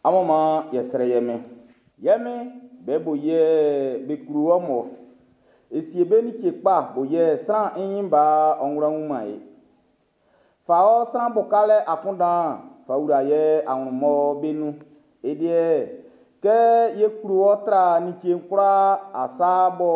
Amun man yɛ srɛ ye Min. Ye Min, be bo yɛ be klo wɔ mɔ. E sie be like kpa bo yɛ sran i nyin ba ɔ wla wun-man e. Fa ɔ sran bukalɛ akunndan'n fa wla ye anwlɛn mɔ be nun. E deɛ, kɛ ye klo wɔ tra like'n kwlaa asa bɔ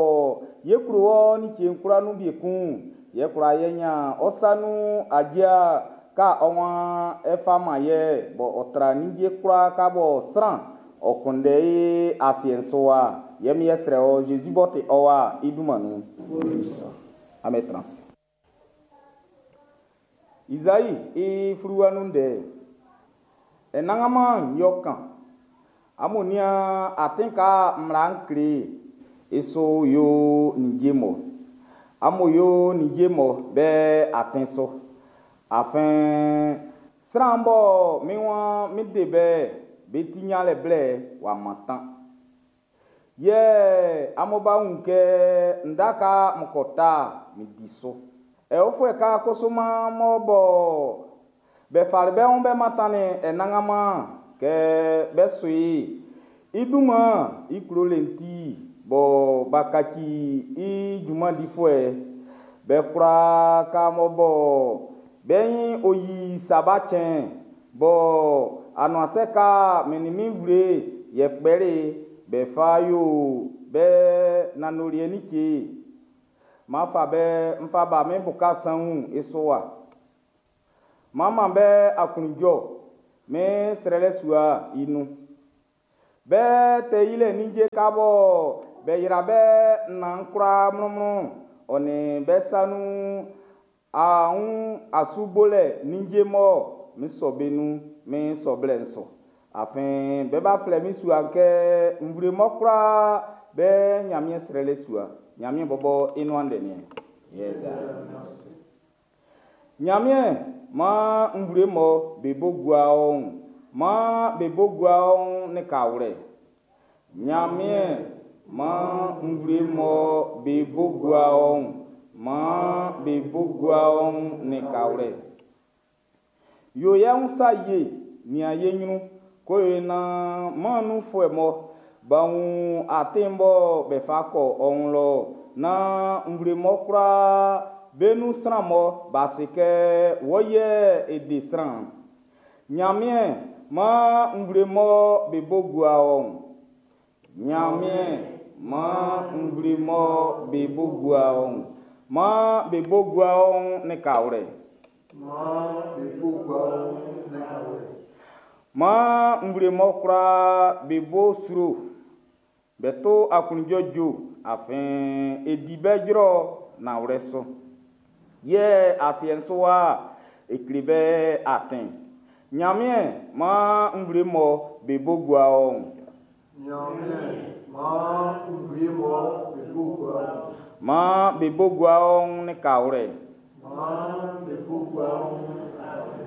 ye klo wɔ like'n kwlaa nun wie kun'n, yɛ kwlaa ye nyan ɔ sa nun aja ka ɔ waan e fa man ye bɔ ɔ tra ninnge kwlaa ka bɔ sran ɔ kunndɛ i asiɛ'n su wa. Yɛ mi yɛ srɛ ɔ Zezi b'ɔ ti ɔ wa i dunman nun. Amen trans. Izai i fluwa nun ndɛ. Anannganman yɛ ɔ kan. Amun nian atin ka mmla'n kle i su yo ninnge mɔ. Amun yo ninnge mɔ be atin su. Afin sran bɔ min waan min de be, be ti nyanlɛ blɛ'n w'a mantan. Yɛ amun ba wun kɛ nda ka n ko ta'n, min di su. Aofuɛ ka kusuman mɔ bɔ be fali be wun be mantannin Anannganman kɛ be su i, i dunman'n i klolɛ'n ti bɔ b'a kaci i junman difuɛ'n, be kwlaa ka mɔ bɔ be nyin o yi Saba cɛn'n, bɔ anuansɛ ka min nin min nvle'n yɛ kpɛli'n be fa yo be nanndoliɛ like'n, m'an fa be n fa ba min buka saun'n i su wa. M'an man be aklunjuɛ min srɛlɛ sua'n i nun. Be tɛ yilɛ ninnge ka bɔ be yra be nnɛn'n kwlaa mlɔnmlɔn'n, ɔ nin be sa nun awun asu bolɛ ninnge mɔ min sɔ be nun min sɔwlɛ'n su. Afin be ba flɛ min sua'n kɛ nvle mɔ kwlaa be Ɲanmiɛn srɛlɛ sua. Ɲanmiɛn bɔbɔ i nuan ndɛ niɛn. Ɲanmiɛn maan nvle mɔ be bo gua ɔ wun, maan be bo gua ɔ wun nin kawlɛ. Ɲanmiɛn maan nvle mɔ be bo gua ɔ wun, maan be bo gua ɔ wun nin kawlɛ. Yo ye wun sa ye, nian ye ɲrun, ko yo naan mɛn'n nunfuɛ mɔ b'a wun atin bɔ be fa kɔ ɔ wun lɔ, naan nvle mɔ kwlaa be nun sran mɔ b'a se kɛ wɔ yɛ e de sran'n. Ɲanmiɛn maan nvle mɔ be bo gua ɔ wun. Ɲanmiɛn maan nvle mɔ be bo gua ɔ wun, maan be bo gua ɔ wun nin kawlɛ. Maan be bo gua ɔ wun nin kawlɛ. Maan nvle mɔ kwlaa be bo sro, be to aklunjuɛ jue, afin e di be jɔlɛ nanwlɛ su. Yɛ asiɛ'n su wa e kle be atin. Ɲanmiɛn maan nvle mɔ be bo gua ɔ wun. Ɲanmiɛn maan nvle mɔ be bo gua ɔ wun. Maan be bo gua ɔ wun nin kawlɛ. Maan be bo gua ɔ wun nin kawlɛ.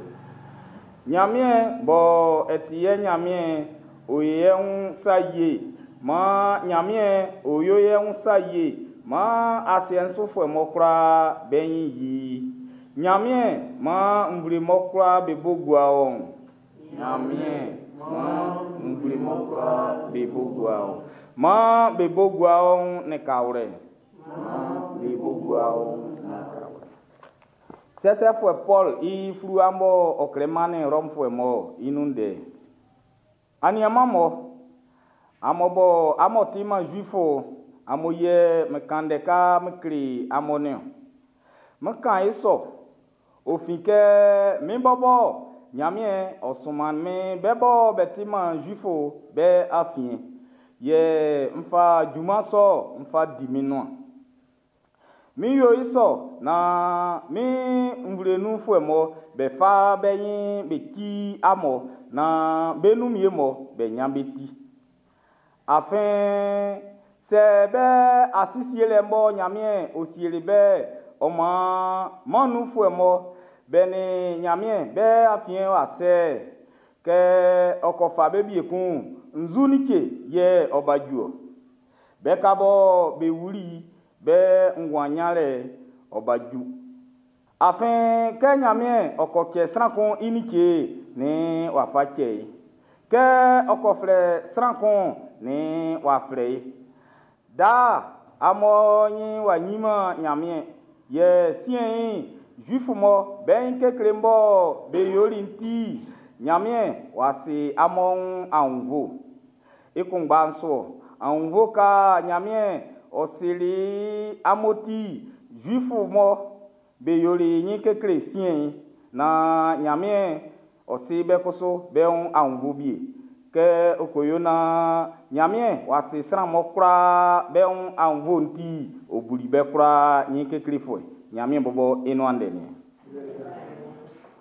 Ɲanmiɛn bɔ e ti ye Ɲanmiɛn'n, ɔ yo ye wun sa ye. Maan Ɲanmiɛn ɔ yo ye wun sa ye. Maan asiɛ'n sufuɛ mɔ kwlaa be ɲin yi i. Ɲanmiɛn maan nvle mɔ kwlaa be bo gua ɔ wun. Ɲanmiɛn maan nvle mɔ kwlaa be bo gua ɔ wun. Maan be bo gua ɔ wun nin kawlɛ. Maan be bo gua ɔ wun nin kawlɛ. Sɛsɛfuɛ Pɔlu i fluwa m'ɔ ɔ klɛ mannin Rɔmfuɛ mun'n i nun ndɛ. Aniaanmun, amun bɔ amun ti-man Zuif'n, amun yɛ n kan ndɛ kan n kle amun nin-ɔn. N kan i sɔ, ɔ fin kɛ min bɔbɔ Nyanmiɛn ɔ sunmannin min be bɔ be ti-man Zuif'n be afiɛn, yɛ n fa junman sɔ'n n fa di min nuan. N yo i sɔ naan min nvle nunfuɛ mɔ be fa be ɲin be ci amun'n, naan be nun wie'm be ɲan be ti. Afin sɛ be a si sielɛ bɔ Nyanmiɛn ɔ sieli be'n, ɔ maan mɛn'n nunfuɛ mɔ be nin Nyanmiɛn be afiɛn w'a sɛ'n, kɛ ɔ ko fa be wie kun'n, nzu like yɛ ɔ ba ju ɔ? Be ka bɔ be wuli'n be nguan nyanlɛ'n ɔ ba ju. Afin kɛ Nyanmiɛn ɔ ko cɛ sran kun i like'n, nn w'a fa cɛ i. Kɛ ɔ ko flɛ sran kun'n, nn w'a flɛ i. Daa, amun ɲin w'a yiman Ɲanmiɛn. Yɛ siɛn'n, Zuifu mɔ be ɲin kekle mɔ be yoli'n ti'n, Ɲanmiɛn w'a si amun aunnvuɛ. I kunngba'n su aunnvuɛ nga Ɲanmiɛn ɔ sili amun ti'n, Zuifu mɔ be yoli ɲin kekle siɛn'n, naan Ɲanmiɛn ɔ si be kusu be wun aunnvuɛ wie. Kɛ ɔ ko yo naan Ɲanmiɛn w'a si sran mɔ kwlaa be wun aunnvuɛ'n ti'n, ɔ buli be kwlaa ɲin keklefuɛ. Ɲanmiɛn bɔbɔ i nuan ndɛ niɛn.